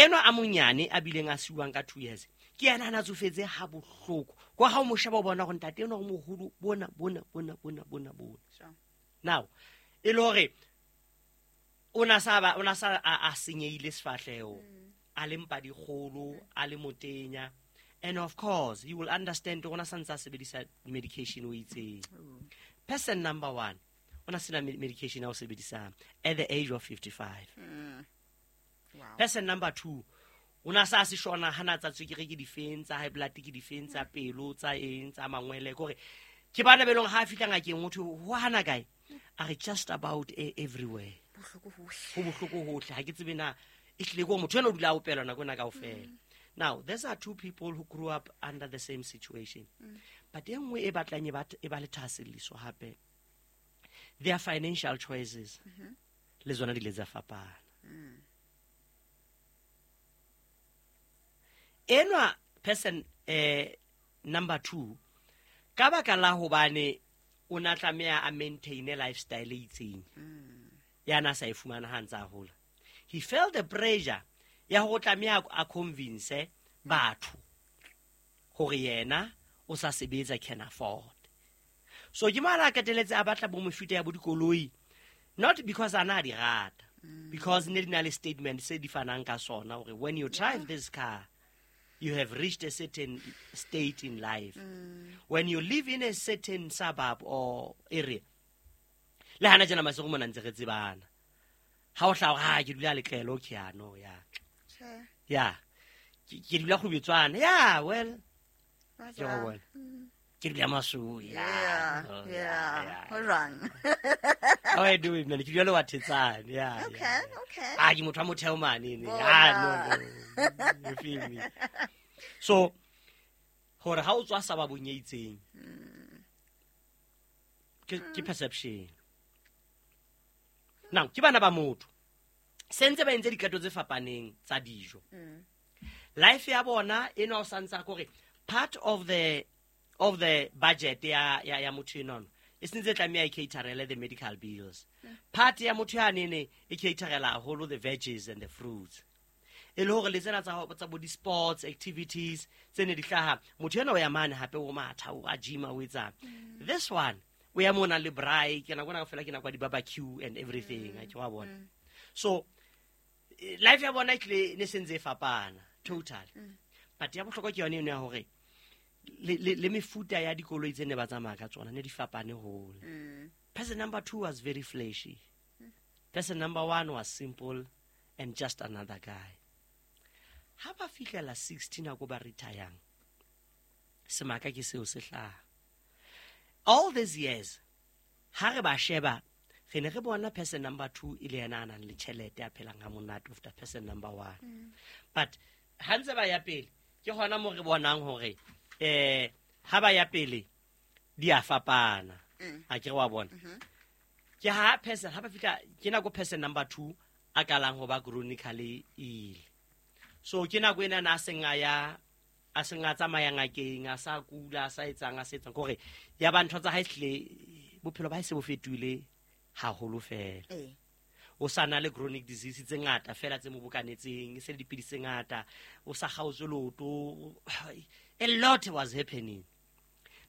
Enwa a monyane a bileng a siuwang ka 2 years, ke yena a na tsofetse ha bohloko kwa ga o mo sheba, o bona gore ntate enwa o moholo, bona bona bona bona bona bona. Now e le hore o na sa ba o na sa a senyehile sefahleho, a le mpa dikgolo, a le motenya, and of course you will understand gore o na sa ntse a sebedisa medication o itseng. Person number one o na sena medication a o sebedisang at the age of 55. Person number two o na sa se shona ha na tsa tswekere ke difeng, tsa high blood ke difeng, tsa pelo, tsa eng, tsa mangwele, kore ke bana be leng ha a fihla ngakeng ho thwe ho hana kae, a re just about everywhere. Bohloko hohle. Ho bohloko hohle, ha ke tsebe na e hlile ke hore motho ena o dula a opelwa nako ena kaofela. Now these are two people who grew up under the same situation, but e nngwe e batlang e ba le thahaselliso hape, their financial choices le tsona di ile tsa fapana. Enwa person number two, ka baka la hobane o na tlameha a maintaine lifestyle e itseng ya na sa e fumana ha ntse a hola, he felt the pressure ya hore o tlameha a convince batho hore yena o sa sebetsa, can afford. So ke mo a qetelletse a batla bo mefuta ya bo dikoloi, not because a na di rata, because ne di na le statement se di fanang ka sona hore when you drive this car, you have reached a certain state in life, when you live in a certain suburb or area. Le hana jena Masego mona ntse re tsebana, ha o hlaha ha ke dula Letlelo, okay, ano ya. Tjhe. Ya, ke dula Kgubetswana, ya, well, Wa ke go jwang? bona ke dula Masowe, ya. Oh, yeah. Ho jwang? How are you doing, man? Ke dula le wa Thetsane, ya. Okay. Ah, ke motho wa motheo mane ne. Bona. Ah, no, no, you feel me? So hore ha o tswa sababong e itseng, ke perception. Now ke bana ba motho sentse ba entse diqeto tse fapaneng tsa dijo, life ya bona eno o santse a kore part of the budget ya motho enono e sentse e tlameha e caterele the medical bills, part ya motho ya nene e caterela haholo the veggies and the fruits, e le hore le tsena tsa bo di-sports activities tse ne di hlaha, motho ena o ya mane hape o matha, o a gyma, o etsang. This one o ya mona le braai, ke nako ena fela ke nako ya di-barbecue and everything, a ke wa bona. So life ya bona e tlile ne sentse e fapana total, but ya bohlokwa ke yone eno ya hore le mefuta ya dikoloi tse ne ba tsamaya ka tsona ne di fapane hole. Person number two was very flashy, person number one was simple and just another guy. Ha ba fihlela 60 nako ba retayang, semaka ke seo se hlaha. All these years ha re ba sheba, re ne re bona person number two e le yena a nang le tjhelete, a phelang ha monate after person number one. But ha ntse ba ya pele, ke hona mo re bonang hore ha ba ya pele di a fapana, a ke re wa bona. Ke ha person ha ba fihla ke nako person number two a kalang ho ba chronically ill. So ke nako ena na a seng a ya, a seng a tsamaya ngakeng, a sa kula, a sa etsang, a sa etsang, kore ya ba ntho tsa hae hlile, bophelo ba hae se bo fetohile haholo fela. O sa na le chronic disease tse ngata fela tse mo bokanetseng, e se le dipidisi tse ngata, o sa kgaotswe loto, a lot was happening.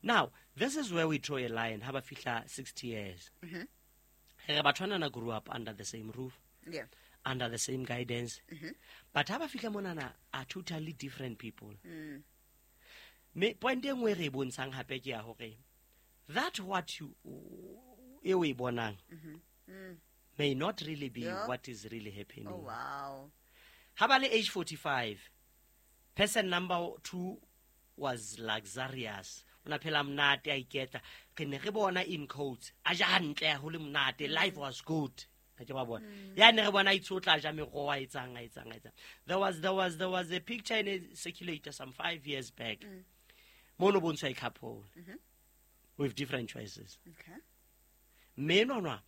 Now this is where we draw a line ha ba fihla 60 years. Re batho banana grew up under the same roof, under the same guidance, but ha ba fihla monana are totally different people. Me point e nngwe e re e bontshang hape ke ya hore that what you e o e bonang may not really be what is really happening. Ha ba le age 45, person number two was luxurious, o na phela monate, a iketla, re ne re bona in quotes a ja hantle, ho le monate, life was good, ha ke ba bona ya ne re bona a itshotla, a ja meroho, a etsang, a etsang, a etsang. There was a picture in a circulator some 5 years back mo no bontshwa a couple with different choices. Mme enwanwa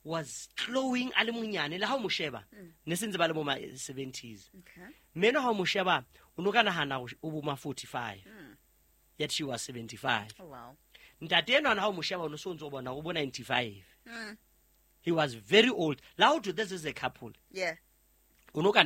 was glowing, a le monyane, le ha o mo sheba ne se ntse ba le bo ma 70s. Mme enwa ha o mo sheba o no ka nahana hore o bo ma 45, yet she was 75. Ntate enwana ha o mo sheba o no so ntse o bona o bo 95. He was very old. La ho thwe this is a couple, o no ka